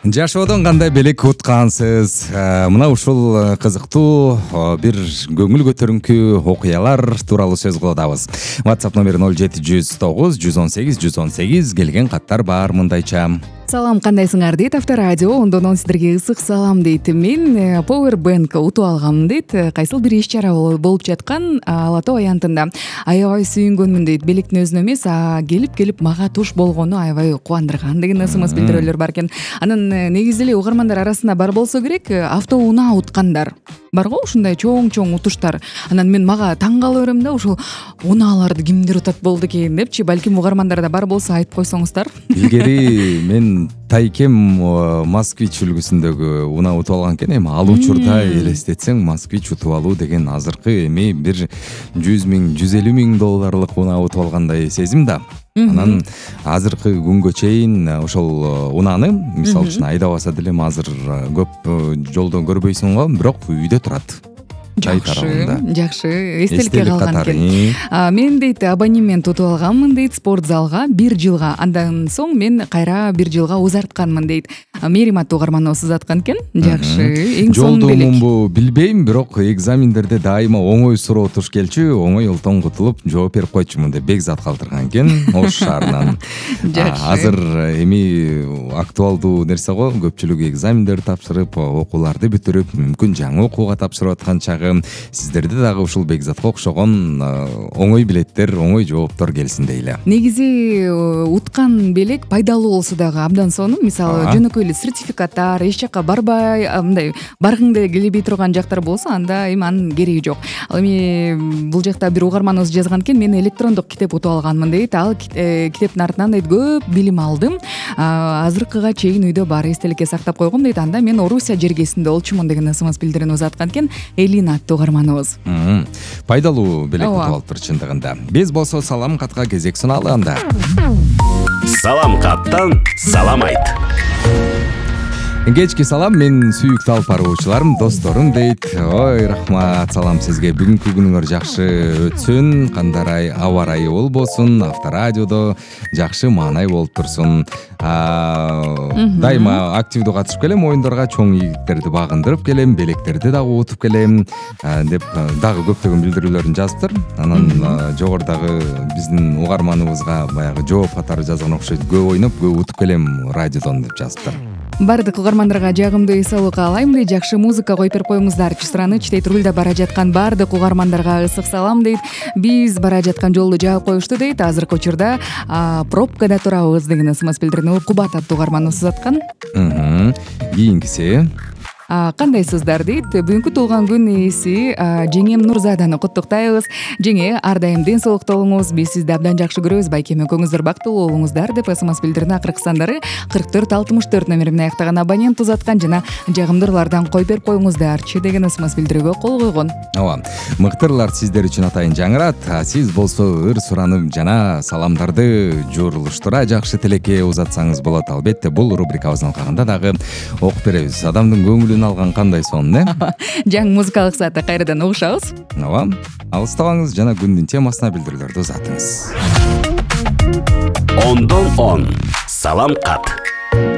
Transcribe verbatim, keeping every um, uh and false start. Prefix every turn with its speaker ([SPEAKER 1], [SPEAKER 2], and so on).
[SPEAKER 1] Жашоодон кандай белек уткансыз? Мына ушул кызыктуу бир көңүл көтөрүнкү окуялар тууралуу сөз кылабыз. WhatsApp номери ноль жети жүз тогуз жүз он сегиз жүз он сегиз. Келген каттар бар мындайча.
[SPEAKER 2] Салам, кандайсыңар дейт Авторадио. Ондон сиздерге ысык салам дейт. Мен Power Bank утуп алгам дейт. Кайсыл бир иш чара болуп жаткан Ала Тоо аянтында. Аябай сүйүнгөнмүн дейт. Белектин өзүнө эмес, а келип-келип мага туш болгону аябай кубандырган деген ысымыз билдирүүлөр бар экен. Анан негизи эле угармандар арасында бар болсо керек, автоунаа уткандар. Барго ушундай чоң-чоң утуштар. Анан мен мага таң кала берем да, ушул унааларды кимдер утат болду экен депчи. Балким угармандарда бар болсо айтып койсоңуздар.
[SPEAKER 1] Илгери мен Тайкем Москвич үлгүсүндөгү унаа утуп алган экен. Эми ал учурда элестетсең, Москвич утуп алуу деген азыркы эми бир жүз миң, жүз элүү миң долларлык унаа утуп алгандай сезим да. Анан азыркы күнгө чейин ошол унааны мисалы үчүн айдабаса деле азыр көп жолдон көрбөйсүң го, бирок үйдө турат.
[SPEAKER 2] Жакшы, жакшы, эстеликке калган экен. Мен дейт абонемент утуп алганмын дейт спорт залга бир жылга. Андан соң мен кайра бир жылга узартканмын дейт. Меримат угарманыбыз узаткан экен. Жакшы, эң сонун белек.
[SPEAKER 1] Жолдомумбу билбейм, бирок экзамендерде дайыма оңой суроо туш келчү, оңой олтон кутулуп жооп берип койчумун деп бекзат калтырган экен Ош шаарынан.
[SPEAKER 2] Жакшы.
[SPEAKER 1] Азыр эми актуалдуу нерсе го, көпчүлүк экзамендер тапшырып, окууларды бүтүрүп, мүмкүн жаңы окууга тапшырып аткан чагы. Сиздерде дагы ушул бекзатка окшогон оңой билеттер, оңой жооптор келсин дейле.
[SPEAKER 2] Негизи уткан белек пайдалуу болсо дагы абдан сонун. Мисалы, жөнөкөй эле сертификаттар, эч жакка барбай, мындай баргыңды келбей турган жактар болсо, анда эми анын кереги жок. Ал эми бул жакта бир угарманыбыз жазган экен, мен электрондук китеп утуп алганмын дейт. Ал китептин артынан дейт көп билим алдым. Азыркыга чейин үйдө бар, эстеликке сактап койгом дейт. Анда мен Орусия жергесинде болчумун деген ысымыз билдирен узаткан экен. Элина угарманыбыз.
[SPEAKER 1] Пайдалуу белек утуп алыптыр чындыгында. Биз болсо салам катка кезек суналалы анда.
[SPEAKER 3] Салам каттан салам айт.
[SPEAKER 1] Кечки салам, мен сүйүктүү алып баруучуларым, досторум дейт. Ой, рахмат, салам сизге. Бүгүнкү күнүңөр жакшы өтсүн, кандай аба ырайы болбосун, Авторадиодо жакшы маанай болуп турсун. Дайыма активдүү катышып келем, оюндорго чоң ийгиликтерди багындырып келем, белектерди дагы утуп келем деп дагы көптөгөн билдирүүлөрүн жазыптыр. Анан жогорудагы биздин угарманыбызга баягы жооп катары жазган окшойт. Көп ойноп, көп утуп келем радиодон деп жазыптыр.
[SPEAKER 2] Бардык угармандарга жагымдуу эс алуу каалайм дейт. Жакшы музыка коюп берип коюңуздарчы. Сұраныч дейт. Рулда бара жаткан бардык угармандарга ысык салам дейт. Биз бара жаткан жолду жаап коюшту дейт. Азыркы учурда пробкада турабыз деген ысымыз билдирген. Кубат аттуу угарманыбыз узаткан.
[SPEAKER 1] Кийинкиси
[SPEAKER 2] кандайсыздар дейт. Бүгүнкү туулган күн ээси жеңем Нурзаданы куттуктайбыз. Жеңе, ар дайым ден соолукта болуңуз. Биз сизди абдан жакшы көрөбүз. Байкем экөөңүздөр бактылуу болуңуздар деп смс билдирген. Акыркы сандары кырк төрт алтымыш төрт номери менен аяктаган абонент узаткан жана жагымдуулардан коюп берип коюңуздарчы деген смс билдирүүгө кол койгон.
[SPEAKER 1] Ооба, мыктырлар сиздер үчүн атайын жаңырат. Сиз болсо ыр суранып жана саламдарды журулуштура жакшы тилекке узатсаңыз болот. Албетте, бул рубрикабыздын алкагында дагы окуп беребиз. Адамдын көңүлүн алган кандай сонун, э?
[SPEAKER 2] Жаңы музыкалык саатта кайрадан угушабыз.
[SPEAKER 1] Ооба, алыстабаңыз жана күндүн темасына билдирүүлөрдү узатыңыз.
[SPEAKER 3] Ондон он салам кат.